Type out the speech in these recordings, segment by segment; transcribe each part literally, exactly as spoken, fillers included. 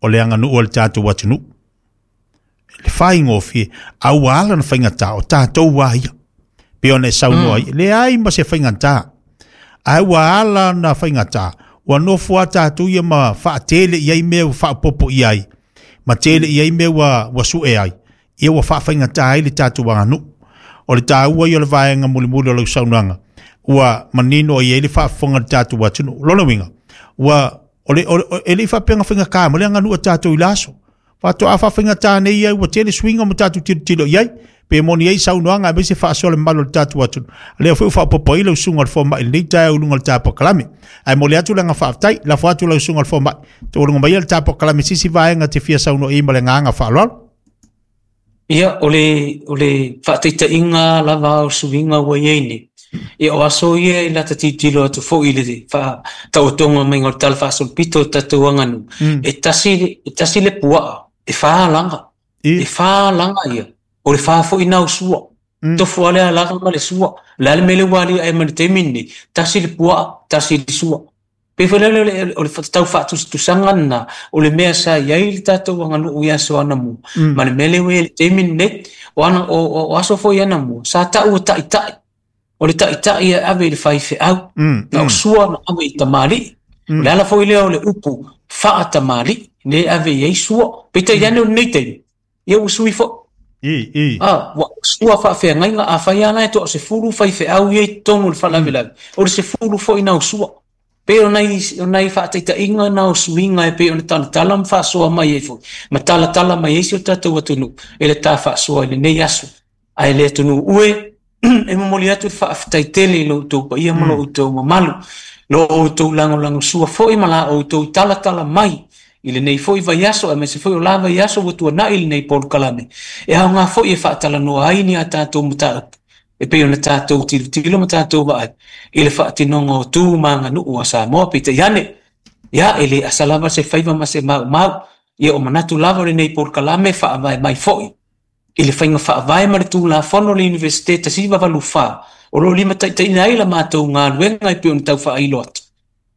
O le aganuu a le tatou atunuu. Le faigofie, a ua ala ona faigata, o tatou lava ia. Pei ona e saunoa ai, leai ma se faigata. Ae ua ala ona faigata, ua nofo lava tatou ia ma faatele i ai mea ua faaopoopo i ai, ma tele i ai mea ua, ua sue ai, ia ua faafaigata ai le tatou aganuu. O le taua ia o le vaega mulimuli o lau saunoaga, ua manino i ai le faafofoga a le tatou atunuu. Lona uiga, ua o le, o le, e le i faapea na faigata ma le aganuu a tatou i le aso. Faatoa faafaigata nei ia ua tele suiga ma tatou tilotilo i ai. Pe moni ai saunoaga aemaise faasoa le mamalu o le tatou atunuu. Lea foi ua faaopoopo ai lau susuga i le fomai i lenei taeao i luga o le ta polokalame. Ae momoli atu le agaga faafetai, lafo atu lau susuga i le fomai. Taualuga maia le ta polokalame i se isi vaega e te fia saunoa i ai ma le agaga faaaloalo. Ia, o le, o le faataitaiga lava o suiga ua i ai nei, ia o aso ia i lata tilotilo atu foi i le faataotoga maiga o le Tala Faasolopito o le tatou aganuu, Mm. e tasi, e tasi le puaa, e fa laga. I. E fa laga ia. O le fa foi na o sua. Mm. Tofu lava le alaga ma le sua. O le a le mea lea ua aliae mai le taimi lenei, tasi le puaa, tasi le sua. Pei foi lea o le, o le tau faatusatusaga lena, o le mea sa i ai le tatou aganuu i aso anamua, Mm. ma le mea lea ua i ai le taimi lenei, o, ana, o, o, o aso foi anamua, sa tau o taitai. O le taitai e ave i le faifeau. Mm, Na o mm. sua na ave i tamalii. Mm. O le ala foi lea o le upu faatamalii, le ave i ai sua. Peitai ane o lenei taimi, ia ua sui foi. I, i. Ah, ua sua faafeagaiga, afai lava la e toasefulu faifeau ia i totonu o le faalavelave, o le sefulu foi na o sua. Pei o nai, o nai faataitaiga na o suiga e pei ona talatala ma faasoa mai ai foi, ma talatala mai ai si o tatou atunuu e le ta faasoa i lenei aso. Ae le atunuu e, e momoli atu le faafetai tele i lo outou paia ma lo outou mamalu, lo outou lagolagosua foi ma la outou talatala mai i lenei foi vaiaso, aemaise foi o la vaiaso ua tuanai lenei polokalame. E aoga foi e faatalanoa ai ni a tatou mataupu, e pei ona tatou tilotilo ma tatou vaai i le faatinoga o tu ma aganuu a Samoa. Peitai ane, ia e le asa lava se faiva ma se maumau, ia o manatu lava o lenei polokalame faavae mai foi i le faiga faavae ma le Tulafono o le Iunivesite tasi iva valu fa, o lo o limataitaiina ai la matou galuega e pei ona tau faailo atu.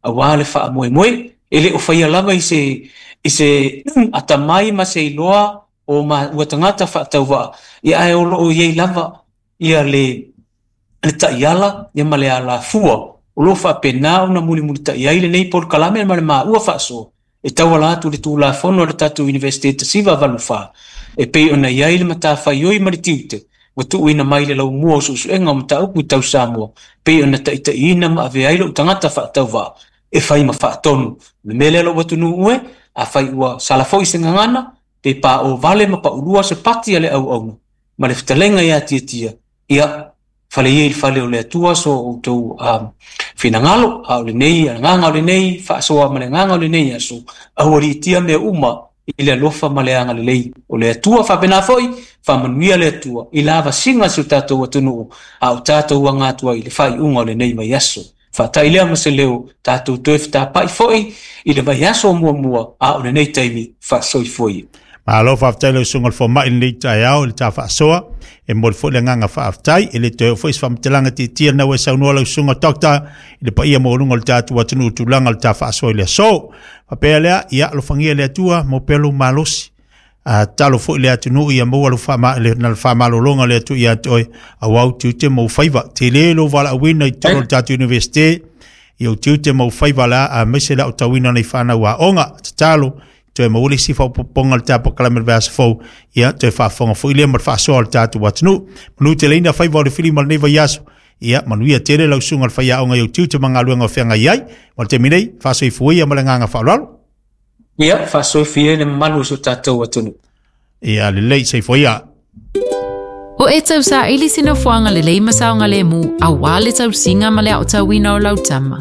Aua le faamoemoe, e le o faia lava i se, i se atamai ma se iloa o ma, ua tagata faatauvaa, ia ae o lo o i ai lava ia le, le taiala ia ma le alafua o lo o faapena ona mulimulitai ai lenei polokalame ma le maua faasoa e tauala atu le Tulafono a le tatou Iunivesite tasi iva valu fa, e pei ona i ai le matafaioi ma le tiute ua tuuina mai le laumua o suesuega o mataupu tau Samoa, pei ona taitaiina ma avea ai lou tagata faatauvaa e fai ma faatonu. O le mea lea lou atunuu e, afai ua sala foi se gagana, pe paʻo vale ma paʻulua se pati a le auauna, ma le fetalaiga ia Tiatia, ia fale ia i le fale o le Atua so outou um, finagalo, a o lenei agaga o lenei faasoa ma le agaga o lenei aso, aualiitia mea uma i le alofa ma le agalelei o le Atua. Faapena foi, faamanuia le Atua i la avasiga si o tatou atunuu, a o tatou aga atu ai i le faaiuga o lenei vaiaso. Faatai lea ma se leo, tatou toe fetapai foi i le vaiaso muamua, a o lenei taimi faasoifua ia. Malo faafetai lau susuga i le fomai i lenei taeao i le ta faasoa. E momoli foi le agaga faafetai. E le toe oo foi se faamatalaga tietia lena ua e saunoa lau susuga Doctor i le paia maualuga o le tatou atunuu i tulaga o le ta faasoa i le aso. Faapea lea, ia alofagia e le Atua maua pea lou malosi. A tatalo foi le atunuu ia maua le faama, le, na le faamalologa o le Atua ia te oe, aua ou tiute ma ou faiva. Tele lou valaauina i totonu o le tatou Iunivesite, ia ou tiute ma ou faiva la, aemaise le aotauina o nei fanau aoga. Tatalo, toe maua le isi faaopoopoga o le ta polokalame i le vaiaso fou, ia toe faafofoga foi lea ma le faasoa o le tatou atunuu. Manu teleina faiva o le filima o lenei vaiaso, ia manuia tele lau susuga i le faiaoga i ou tiute ma galuega o feagai ai. Ma le taimi nei, faasoifua ia ma le agaga faaaloalo. Ia, faasoifua ia le mamalu o si o tatou atunuu. Ia, lelei, soifua ia. O e tausaili se nofoaga lelei ma saogalemu aua le tausiga ma le aotauina o lau tama.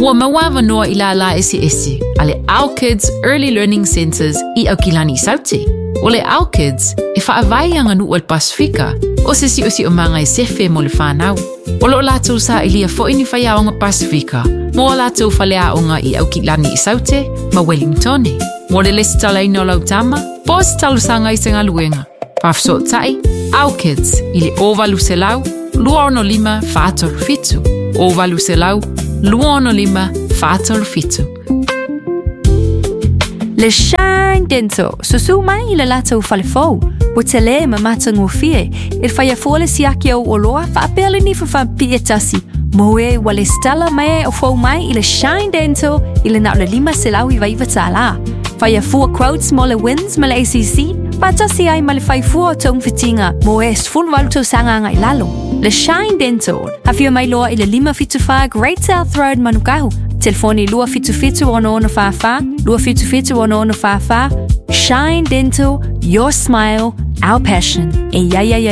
Ua maua avanoa i lālā eseese a le Our Kids Early Learning Centres i Aukilani Saute. O le Our Kids e faavae i aganuu a le Pasifika o se siosiomaga e sefe mo le fanau. O loo latou sailia foi ni faiaoga Pasifika mo a latou faleaoga i Aukilani i Saute ma Wellingtone. Mo le lesitalaina o lau tama, po o se talosaga i se galuega. Faafesootai, Our Kids i le o valu selau, lua ono lima, fa tolu fitu. O valu selau, lua ono lima, fa tolu fitu. Le Shine Dental, susu mai i le latou falefou. Ua telē ma matagofie, e faia fua le siaki o oloa faapea le nifa faapipii e tasi. Mo e ua lesitala mai o fou mai i le Shine Dental i le na o le lima selau iva iva tālā. Faia fua quotes mo le WINZ ma le A C C, faatasi ai ma le faifua o togafitiga mo e sefulu valu tausaga agai i lalo. Le Shine Dental, afio mai loa i le lima fitu fa Great South Road, Manukahu. Telefoni lua fitu fitu ono ono fa fa, lua fitu fitu ono ono fa fa. Shine Dental, your smile, our passion. E ia ia ia.